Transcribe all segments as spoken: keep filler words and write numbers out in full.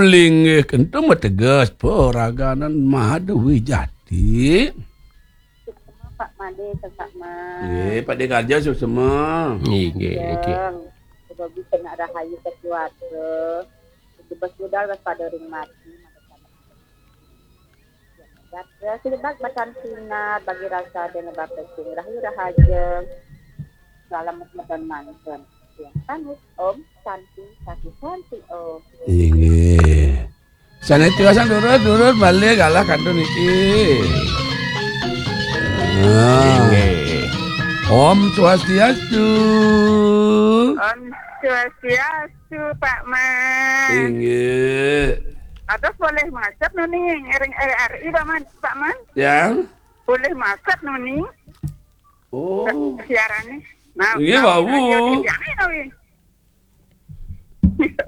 Linggih kento mateges paraganan Maha Dewi Jati. Suksema Pak Made, Pak Man. Nggih, Pak De Karja suksema. Nggih, nggih, nggih. Yang sudah bisa nak rahayu keluarga. Bebas budal waspada ring mati. Gatra silebak batan sinar bagi rasa dene bapa sing rahayu rahaja. Salam medon mantun. Yang sanus Om Santi Santi Santi Om. Inggih. Sané tiosan durut, durut malih galah kantun niki. Ah. Inggih. Om Swastiastu. Om Swastiastu, Pak Man. Inggih. Atos boleh macet nuni ring R R I, Pak Man, Pak Man? Ya. Boleh macet nuni. Oh. Siarannya. Nah, nggih, nah, wau. Iya, iya, iya, iya.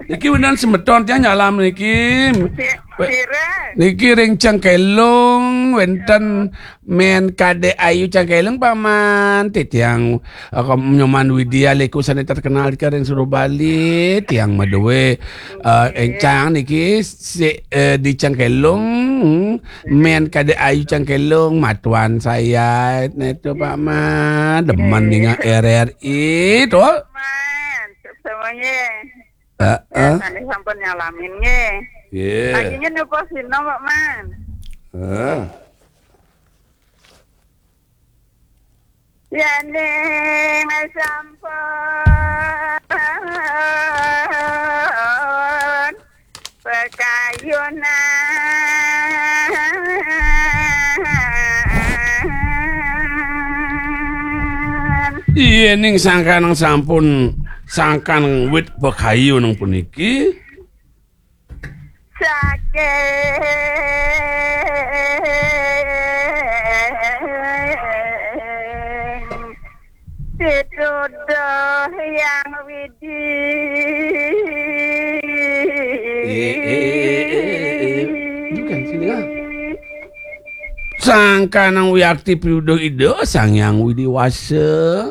Niki wénten semeton tiang nyalam niki. Si-, sira. Niki ring Cengkelung wénten Men Kadek Ayu Cengkelung, Pak Man. Titiang, eh, Nyoman Widya Leku sané terkenal niki ring Suru Bali. Tiang madué, eh, éncang niki si, eh, di Cengkelung, Men Kadek Ayu Cengkelung, matuan saya netu, Pak Man. Demen ningal R R I to. Man, semuanya. Heeh. Ya, sané sampun nyalamin nggih. Nggih. Lagi nyen napa sina, Pak Man? Heeh. Yéning sampun pekayunan. Yéning sangkaning sampun, sangkan wit pekayunan puniki. Saking pituduh Hyang Widi. Eh, eh, eh, eh, eh. Bukan, sini, ah. Sangkanang wiakti pituduh Ida Sang Hyang Widi Wasa.